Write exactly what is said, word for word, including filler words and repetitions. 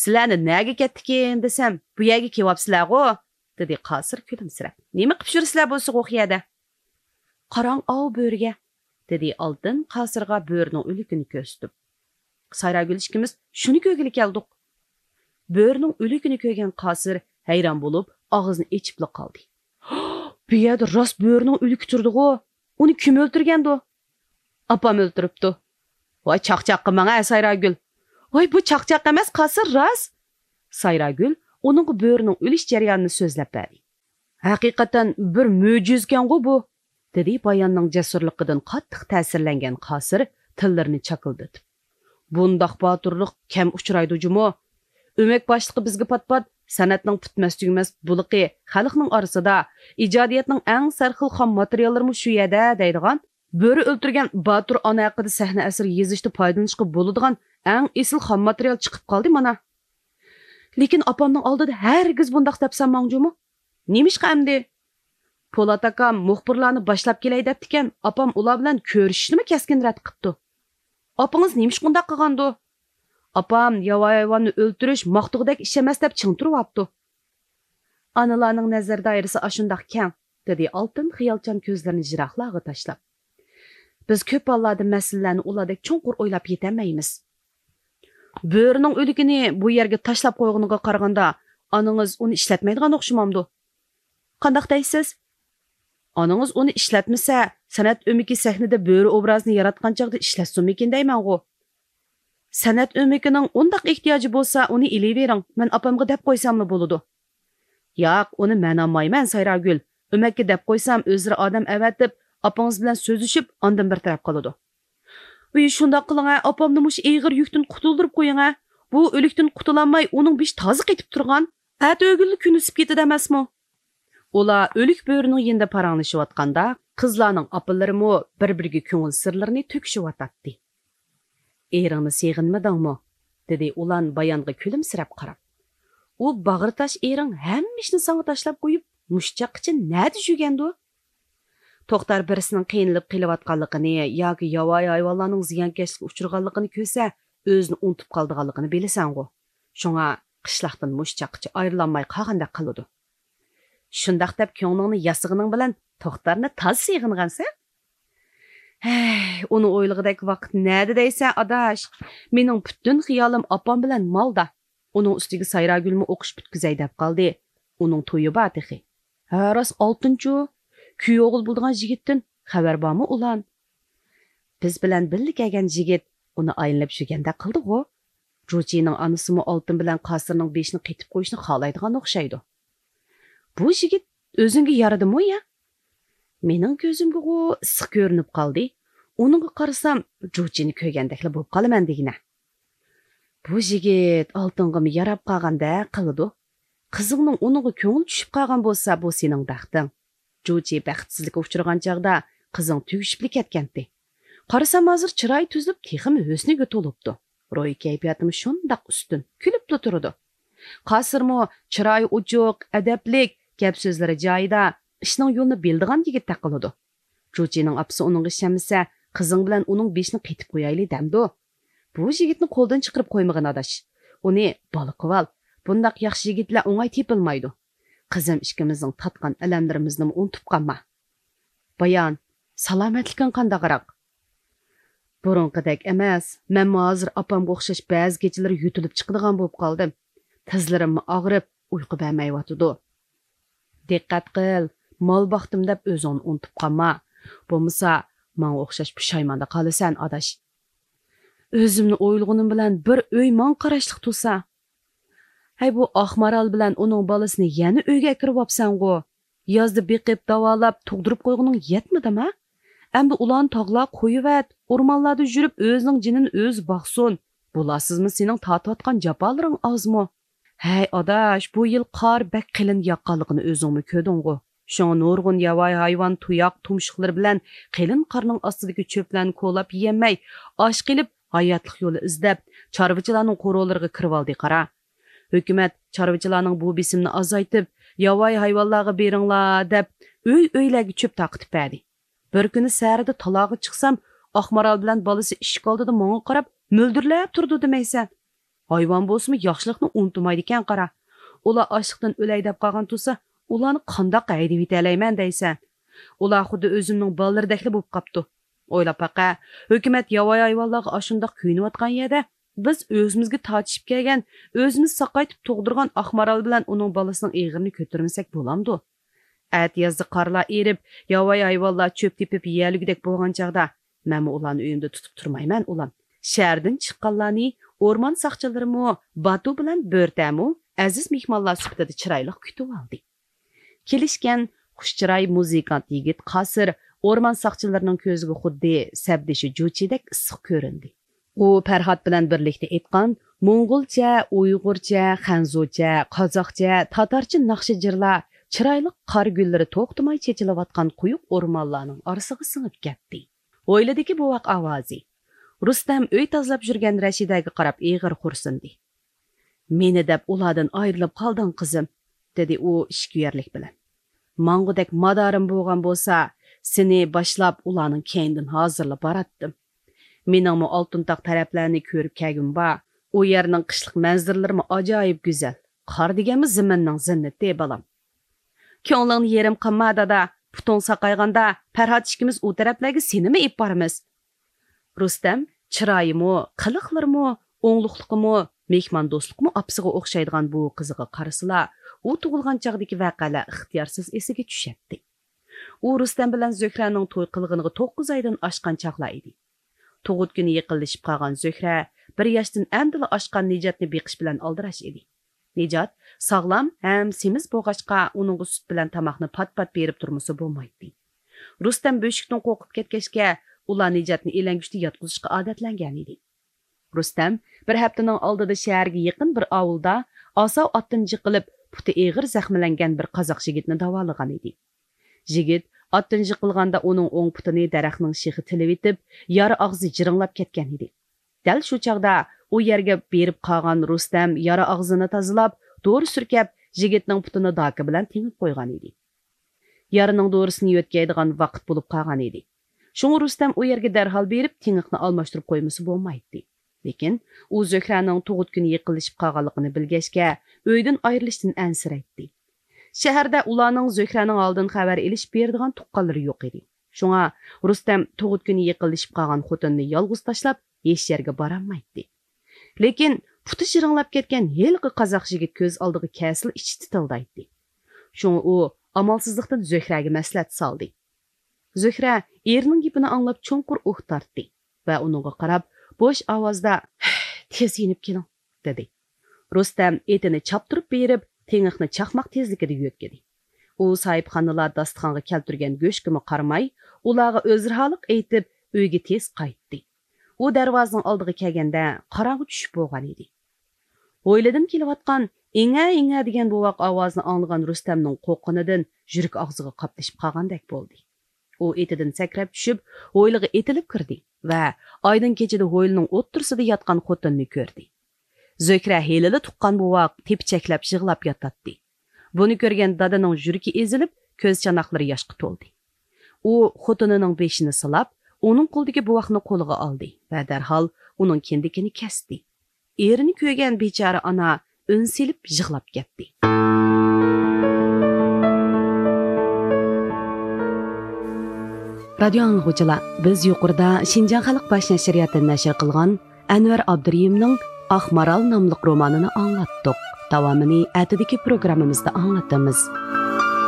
سىلەرنى نەگە كەتتىكىن دېسەم، بۇ يەرگە كېلىۋاپسىلەرغۇ، دېدى قاسىر كۈلۈمسىرەپ. نېمە قىپ يۈرىسىلەر بولسا ئۇ يەردە؟ قاراڭ ئاۋۇ بۆرىگە، دېدى ئالتۇن قاسىرغا بۆرىنىڭ ئۆلۈكىنى كۆرسىتىپ. سايراگۈل ئىككىمىز شۇنى كۆرگىلى كەلدۇق. بۆرىنىڭ ئۆلۈكىنى كۆرگەن قاسىر ھەيران بولۇپ، ئاغزىنى ئېچىپلا قالدى. بۇ يەردە راست بۆرىنىڭ ئۆلۈكى تۇرىدىغۇ؟ ئۇنى كىم ئۆلتۈرگەندۇ؟ ئاپام ئۆلتۈرۈپتۇ. ۋاي چاقچاق قىلماڭ ھە سايراگۈل. ۋاي بۇ چاقچاق ئەمەس قاسىر راست. سايراگۈل ئۇنىڭغا بۆرىنىڭ ئۆلۈش جەريانىنى سۆزلەپ بەردى. ھەقىقەتەن بىر مۆجىزىكەنغۇ بۇ، دېدى باياننىڭ جەسۇرلۇقىدىن قاتتىق تەسىرلەنگەن قاسىر تىللىرىنى چاكىلدىتىپ. بۇنداق باتۇرلۇق كەم ئۇچرايدۇ جۇمۇ. ئۆمەك باشلىقى بىزگە پات-پات سەنئەتنىڭ پۈتمەس-تۈگىمەس بۇلىقى، خەلقنىڭ ئارىسىدا ئىجادىيەتنىڭ ئەڭ سەرخىل خام ماتېرىياللىرىمۇ شۇ يەردە دەيدىغان، بۆرە ئۆلتۈرگەن باتۇر ئانا ھەققىدە سەھنە ئەسىرى يېزىشتا پايدىلىنىشقا بولىدىغان ئەڭ ئېسىل خام ماتېرىيال چىقىپ قالدى مانا. لېكىن ئاپامنىڭ ئالدىدا ھەرگىز بۇنداق دەپ سالماڭ جۇمۇ. نېمىشقا ئەمدى؟ پولات ئاكام مۇخبىرلارنى باشلاپ كېلەي دەپتىكەن، ئاپام ئۇلار بىلەن كۆرۈشۈشنىمۇ كەسكىن رەت قىپتۇ. ئاپىڭىز نېمىشقا ئۇنداق قىلغاندۇ؟ ئاپام ياۋايى ھايۋاننى ئۆلتۈرۈش ماختىغۇدەك ئىش ئەمەس دەپ چىڭ تۇرۇۋاپتۇ. ئانىلارنىڭ نەزەر دائىرىسى ئاشۇنداق كەڭ، دېدى ئالتۇن خىيالچان كۆزلىرىنى يىراقلارغا تاشلاپ. بىز كۆپ ھاللاردا مەسىلىلەرنى ئۇلاردەك چوڭقۇر ئويلاپ يېتەلمەيمىز. بۆرىنىڭ ئۆلۈكىنى بۇ يەرگە تاشلاپ قويغىنىغا قارىغاندا، ئانىڭىز ئۇنى ئىشلەتمەيدىغان ئوخشىمامدۇ؟ قانداق دەيسىز؟ ئانىڭىز ئۇنى ئىشلەتمىسە، سەنئەت ئۆمىكى سەھنىدە بۆرە ئوبرازىنى ياراتقان چاغدا ئىشلەتسۇنمىكىن دەيمەنغۇ. سەنئەت ئۆمىكىنىڭ ئۇنداق ئېھتىياجى بولسا، ئۇنى ئېلىۋېرىڭ، مەن ئاپامغا دەپ قويساملا بولىدۇ. ياق، ئۇنى مەن ئالمايمەن، سايراگۈل. ئۆمەككە دەپ قويسام، ئۆزلىرى ئادەم ئەۋەتىپ، ئاپىڭىز بىلەن سۆزلىشىپ، ئاندىن بىر تەرەپ قىلىدۇ. ئۇي، شۇنداق قىلىڭە، ئاپامنى مۇشۇ ئېغىر يۈكتىن قۇتۇلدۇرۇپ قويۇڭە. بۇ ئۆلۈكتىن قۇتۇلالماي، ئۇنىڭ بېشى تازا قېتىپ تۇرغان. ئەتە ئۆگۈنلا كۈن ئۆسۈپ كېتىدۇ ئەمەسمۇ؟ ئۇلار ئۆلۈك بۆرىنىڭ يېنىدا پاراڭلىشىۋاتقاندا، قىزلارنىڭ ئاپىلىرىمۇ بىر-بىرىگە كۆڭۈل سىرلىرىنى تۆكۈشۈۋاتاتتى. ئېرىڭنى سېغىنمىدىڭمۇ؟ دېدى ئۇلان بايانغا كۈلۈمسىرەپ قاراپ. ئۇ باغرى تاش ئېرىڭ ھەممە ئىشنى ساڭا تاشلاپ قويۇپ، مۇشۇ چاغقىچە نەدە يۈرگەندۇ؟ توختار بىرسىنىڭ قىينىلىپ قېلىۋاتقانلىقىنى ياكى ياۋايى ھايۋانلارنىڭ زىيانكەشلىككە ئۇچرىغانلىقىنى كۆرسە، ئۆزىنى ئۇنتۇپ قالىدىغانلىقىنى بىلىسەنغۇ. شۇڭا قىشلاقتىن مۇشۇ چاغقىچە ئايرىلالماي قالغاندەك قىلىدۇ. شۇنداق دەپ كۆڭلۈڭنى ياسىغىنىڭ بىلەن توختارنى تازا سېغىنغانسەن؟ ھەي، ئۇنى ئويلىغۇدەك ۋاقىت نەدە دەيسەن، ئاداش؟ مېنىڭ پۈتۈن خىيالىم ئاپام بىلەن مالدا. ئۇنىڭ ئۈستىگە سايراگۈلمۇ ئوقۇش پۈتكۈزەي دەپ قالدى. ئۇنىڭ تويى بار تېخى. ھە، راست ئالتۇنچۇ. كۈيئوغۇل بولىدىغان يىگىتتىن خەۋەر بارمۇ ئۇلان؟ بىز بىلەن بىللە كەلگەن يىگىت ئۇنى ئايلىنىپ يۈرگەندەك قىلدىغۇ. جۇچىنىڭ ئانىسىمۇ ئالتۇن بىلەن قاسىرنىڭ بېشىنى قېتىپ قويۇشنى خالايدىغان ئوخشايدۇ. بۇ يىگىت ئۆزۈڭگە يارىدىمۇ يا؟ مېنىڭ كۆزۈمگىغۇ ئىسسىق كۆرۈنۈپ قالدى. ئۇنىڭغا قارىسام، جۇچىنى كۆرگەندەكلا بولۇپ قالىمەن دېگىنە. بۇ يىگىت ئالتۇنغىمۇ ياراپ قالغاندەك قىلىدۇ. قىزىڭنىڭ ئۇنىڭغا كۆڭلى چۈشۈپ قالغان بولسا، بۇ سېنىڭ بەختىڭ. جۇچى بەختسىزلىككە ئۇچرىغان چاغدا قىزىڭ تۈگىشىپلا كەتكەنتى. قارىسام، ھازىر چىرايى تۈزۈلۈپ، تېخىمۇ ھۆسنىگە تولۇپتۇ. روھىي كەيپىياتىمۇ شۇنداق ئۈستۈن، كۈلۈپلا تۇرىدۇ. قاسىرمۇ چىرايى ئوچۇق، ئەدەپلىك، گەپ-سۆزلىرى جايىدا، ئىشنىڭ يولىنى بىلىدىغان يىگىتتەك قىلىدۇ. جۇچىنىڭ ئاپىسى ئۇنىڭغا ئىشەنمىسە، قىزىڭ بىلەن ئۇنىڭ بېشىنى قېتىپ قويايلى دەمدۇ؟ بۇ يىگىتنى قولدىن چىقىرىپ قويمىغىن، ئاداش. ئۇنى بالا قىلىۋال. بۇنداق ياخشى يىگىتلەر ئوڭاي تېپىلمايدۇ. قىزىم ئىككىمىزنىڭ تارتقان ئەلەملىرىمىزنىمۇ ئۇنتۇپ قالما. بايان، سالامەتلىكىڭ قانداقراق؟ بۇرۇنقىدەك ئەمەس. مەنمۇ ھازىر ئاپامغا ئوخشاش بەزى كېچىلىرى يۆتىلىپ چىقىدىغان بولۇپ قالدىم. تىزلىرىممۇ ئاغرىپ، ئۇيقۇ بەرمەيۋاتىدۇ. دىققەت قىل، مال باقتىم دەپ ئۆزۈڭنى ئۇنتۇپ قالما. بولمىسا، ماڭا ئوخشاش پۇشايماندا قالىسەن، ئاداش. ئۆزۈمنى ئويلىغىنىم بىلەن بىر ئۆي ماڭا قاراشلىق تۇرسا. ھەي، بۇ ئاقمارال بىلەن ئۇنىڭ بالىسىنى يەنە ئۆيگە ئەكىرىۋاپسەنغۇ؟ يازدا بېقىپ، داۋالاپ، تۇغدۇرۇپ قويغىنىڭ يەتمىدىما؟ ئەمدى ئۇلارنى تاغلارغا قويۇۋەت، ئورمانلاردا يۈرۈپ ئۆزىنىڭ جېنىنى ئۆزى باقسۇن. بۇلارسىزمۇ سېنىڭ تارتىۋاتقان جاپالىرىڭ ئازمۇ؟ ھەي ئاداش، بۇ يىل قار بەك قېلىن ياغقانلىقىنى ئۆزۈڭمۇ كۆردۈڭغۇ. شۇڭا نۇرغۇن ياۋايى ھايۋان تۇياق تۇمشۇقلىرى بىلەن قېلىن قارنىڭ ئاستىدىكى چۆپلەرنى كولاپ يېيەلمەي، ئاچ قېلىپ، ھاياتلىق يولى ئىزدەپ، چارۋىچىلارنىڭ قورۇلىرىغا كىرىۋالدى قارا. ھۆكۈمەت چارۋىچىلارنىڭ بۇ بېسىمىنى ئازايتىپ، ياۋايى ھايۋانلارغا بېرىڭلار دەپ، ئۆي-ئۆيلەرگە چۆپ تارقىتىپ بەردى. بىر كۈنى سەھەردە تالاغا چىقسام، ئاقمارال بىلەن بالىسى ئىشىك ئالدىدا ماڭا قاراپ مۆلدۈرلەپ تۇرىدۇ دېمەيسەن. ھايۋان بولسىمۇ ياخشىلىقنى ئۇنتۇمايدىكەن قارا. ئۇلار ئاچلىقتىن ئۆلەي دەپ قالغان تۇرسا، ئۇلارنى قانداق ھەيدىۋېتەلەيمەن دەيسەن؟ ئۇلار خۇددى ئۆزۈمنىڭ بالىلىرىدەكلا بولۇپ قاپتۇ. ئويلاپ باقە، ھۆكۈمەت ياۋايى ھايۋانلارغا ئاشۇنداق كۆيۈنۈۋاتقان يەردە، بىز ئۆزىمىزگە تارتىشىپ كەلگەن، ئۆزىمىز ساقايتىپ تۇغدۇرغان ئاق مارال بىلەن ئۇنىڭ بالىسىنىڭ ئېغىرىنى كۆتۈرمىسەك بولامدۇ؟ ئەتىيازدا قارلار ئېرىپ، ياۋايى ھايۋانلار چۆپ تېپىپ يېيەلىگۈدەك بولغان چاغدا، مەنمۇ ئۇلارنى ئۆيۈمدە تۇتۇپ تۇرمايمەن، ئۇلان. شەھەردىن چىققانلارنى ئورمان ساقچىلىرىمۇ، باتۇ بىلەن بۆرتەمۇ ئەزىز مېھمانلار سۈپىتىدە چىرايلىق كۈتۈۋالدى. كېلىشكەن خۇش چىراي مۇزىكانت يىگىت قاسىر ئورمان ساقچىلىرىنىڭ كۆزىگە خۇددى سەپدىشى جۇچىدەك ئىسسىق كۆرۈندى. ئۇ پەرھات بىلەن بىرلىكتە ئېيتقان موڭغۇلچە، ئۇيغۇرچە، خەنزۇچە، قازاقچە، تاتارچە ناخشا جىرلار چىرايلىق قار گۈللىرى توختىماي چېچىلىۋاتقان قويۇق ئورمانلارنىڭ ئارىسىغا سىڭىپ كەتتى. ھويلىدىكى بوۋاق ئاۋازى. رۇستەم ئۆي تازىلاپ يۈرگەن رەشىدەگە قاراپ ئېغىر خورسۇندى. مېنى دەپ ئۇلاردىن ئايرىلىپ قالدىڭ، قىزىم، دېدى ئۇ ئىچكۈيەرلىك بىلەن. ماڭغۇدەك مادارىم بولغان بولسا، سېنى باشلاپ ئۇلارنىڭ كەينىدىن ھازىرلا باراتتىم. مېنىڭمۇ ئالتۇن تاغ تەرەپلەرنى كۆرۈپ كەلگۈم بار. ئۇ يەرنىڭ قىشلىق مەنزىرىلىرىمۇ ئاجايىپ گۈزەل. قار دېگەنمۇ زېمىننىڭ زىننىتى، بالام. كۆڭلۈڭنى يېرىم قىلما، دادا. پۇتۇڭ ساقايغاندا، پەرھات ئىككىمىز ئۇ تەرەپلەرگە سېنىمۇ ئېلىپ بارىمىز. رۇستەم چىرايىمۇ، قىلىقلىرىمۇ، ئوڭلۇقلۇقىمۇ، مېھماندوستلۇقىمۇ ئاپىسىغا ئوخشايدىغان بۇ قىزىغا قارىسىلا، ئۇ تۇغۇلغان چاغدىكى ۋەقەلەر ئىختىيارسىز ئېسىگە چۈشەتتى. ئۇ رۇستەم بىلەن زۆھرەنىڭ توي قىلغىنىغا توققۇز ئايدىن ئاشقان چاغلار ئىدى. تۇغۇت كۈنى يېقىنلىشىپ قالغان زۆھرە بىر ياشتىن ئەمدىلا ئاشقان نىجاتنى بېقىش بىلەن ئالدىراش ئىدى. نىجات ساغلام ھەم سېمىز بولغاچقا، ئۇنىڭغا سۈت بىلەن تاماقنى پات-پات بېرىپ تۇرمىسا بولمايتتى. رۇستەم بۆشۈكتىن قورقۇپ كەتكەچكە، ئۇلار نىجاتنى ئېلەڭگۈچتە ياتقۇزۇشقا ئادەتلەنگەنىدى. رۇستەم بىر ھەپتىنىڭ ئالدىدا شەھەرگە يېقىن بىر ئاۋۇلدا ئاساۋ ئاتتىن جىقىلىپ، پۇتى ئېغىر زەخىملەنگەن بىر قازاق يىگىتنى داۋالىغانىدى. يىگىت ئاتتىن جىقىلغاندا ئۇنىڭ ئوڭ پۇتىنى دەرەخنىڭ شېخى تىلىۋېتىپ، يارا ئاغزى جىرىڭلاپ كەتكەنىدى. دەل شۇ چاغدا ئۇ يەرگە بېرىپ قالغان رۇستەم يارا ئاغزىنى تازىلاپ، دورا سۈركەپ، يىگىتنىڭ پۇتىنى داكا بىلەن تېڭىپ قويغانىدى. يارىنىڭ دورىسىنى يۆتكەيدىغان ۋاقىت بولۇپ قالغانىدى. شۇڭا رۇستەم ئۇ يەرگە دەرھال بېرىپ، تېڭىقنى ئالماشتۇرۇپ قويمىسا بولمايتتى. لېكىن ئۇ زۆھرەنىڭ تۇغۇت كۈنى يېقىنلىشىپ قالغانلىقىنى بىلگەچكە، ئۆيدىن ئايرىلىشتىن ئەنسىرەيتتى. شەھەردە ئۇلارنىڭ زۆھرەنىڭ ھالىدىن خەۋەر ئېلىشىپ بېرىدىغان تۇغقانلىرى يوق ئىدى. شۇڭا رۇستەم تۇغۇت كۈنى يېقىنلىشىپ قالغان خوتۇنىنى يالغۇز تاشلاپ، ھېچ يەرگە بارالمايتتى. لېكىن پۇتى جىرىڭلاپ كەتكەن ھېلىقى قازاق يىگىت كۆز ئالدىغا كەلسىلا ئىچى تىتىلدايتتى. شۇڭا ئۇ ئامالسىزلىقتىن زۆھرەگە مەسلىھەت سالدى. زۆھرە ئېرىنىڭ گېپىنى ئاڭلاپ چوڭقۇر ئۇھ تارتتى ۋە ئۇنىڭغا قاراپ بوش ئاۋازدا، «تېز يېنىپ كېلىڭ» دېدى. رۇستەم ئېتىنى چاپتۇرۇپ بېرىپ، تېڭىقنى چاقماق تېزلىكىدە يۆتكىدى. ئۇ ساھىبخانىلار داستىخانغا كەلتۈرگەن گۆشكىمۇ قارىماي، ئۇلارغا ئۆزرىھالىق ئېيتىپ، ئۆيگە تېز قايتتى. ئۇ دەرۋازىنىڭ ئالدىغا كەلگەندە، قاراڭغۇ چۈشۈپ بولغان ئىدى. ھويلىدىن كېلىۋاتقان ئىڭە-ئىڭە دېگەن بوۋاق ئاۋازىنى ئاڭلىغان رۇستەمنىڭ قورققىنىدىن يۈرىكى ئاغزىغا قاپلىشىپ قالغاندەك بولدى. ئۇ ئېتىدىن سەكرەپ چۈشۈپ، ھويلىغا ئېتىلىپ كىردى ۋە ئايدىڭ كېچىدە ھويلىنىڭ ئوتتۇرىسىدا ياتقان خوتۇننى كۆردى. زۆھرە ھېلىلا تۇغقان بوۋاق تېپىچەكلەپ يىغلاپ ياتاتتى. بۇنى كۆرگەن دادىنىڭ يۈرىكى ئېزىلىپ، كۆز چاناقلىرى ياشقا تولدى. ئۇ خوتۇنىنىڭ بېشىنى سىلاپ، ئۇنىڭ قولىدىكى بوۋاقنى قولىغا ئالدى ۋە دەرھال ئۇنىڭ كىندىكىنى كەستى. ئېرىنى كۆرگەن بىچارە ئانا ئۈن سېلىپ يىغلاپ كەتتى. رادىيو ئاڭلىغۇچىلار، بىز يۇقىرىدا شىنجاڭ خەلق باش نەشرىياتى نەشر قىلغان ئەنۋەر ئابدۇرېھىمنىڭ «ئاق مارال» ناملىق رومانىنى ئاڭلاتتۇق. داۋامىنى ئەتىدىكى پروگراممىمىزدا ئاڭلىتىمىز.